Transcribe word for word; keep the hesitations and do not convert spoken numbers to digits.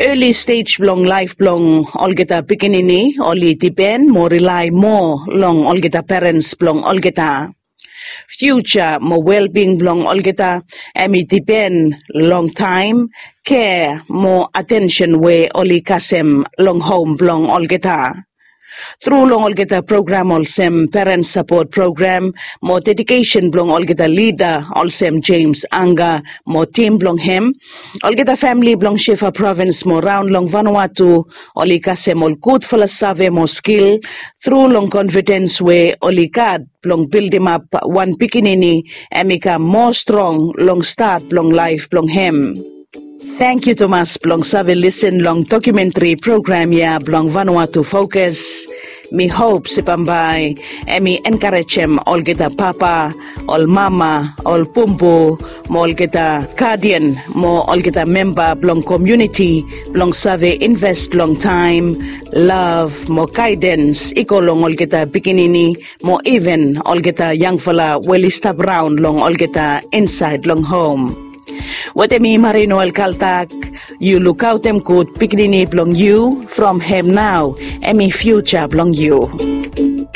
Early stage blong laef blong olgeta pikinini oli dipen mo rely moa long olgeta parents blong olgeta. Future mo well-being blong olgeta em i dipen long taem, care mo attention we oli kasem long home blong olgeta. Tru long olgeta program olsem Parent Support Program mo dedication blong olgeta lida olsem James Anga mo tim blong hem, olgeta famili blong Shefa Provins mo raon long Vanuatu oli kasem ol gudfala save mo skil tru long confidence we oli gat blong bildimap wan pikinini em i kam moa strong long stat blong laef blong hem. Tangkiu tumas blong save lisin long dokumentri program ya blong Vanuatu Focus. Mi hop se bambae em i enkarejem olgeta papa, ol mama, ol bumbu mo olgeta gadian mo olgeta memba blong komuniti blong save inves long taem, lav mo gaedens i go long olgeta pikinini mo iven olgeta yangfala we oli stap raon long olgeta insaed long hom. Wetem mi Marie Noel Kaltak, yu lukaotem gud pikinini blong yu. From hem nao em i fiuja blong yu.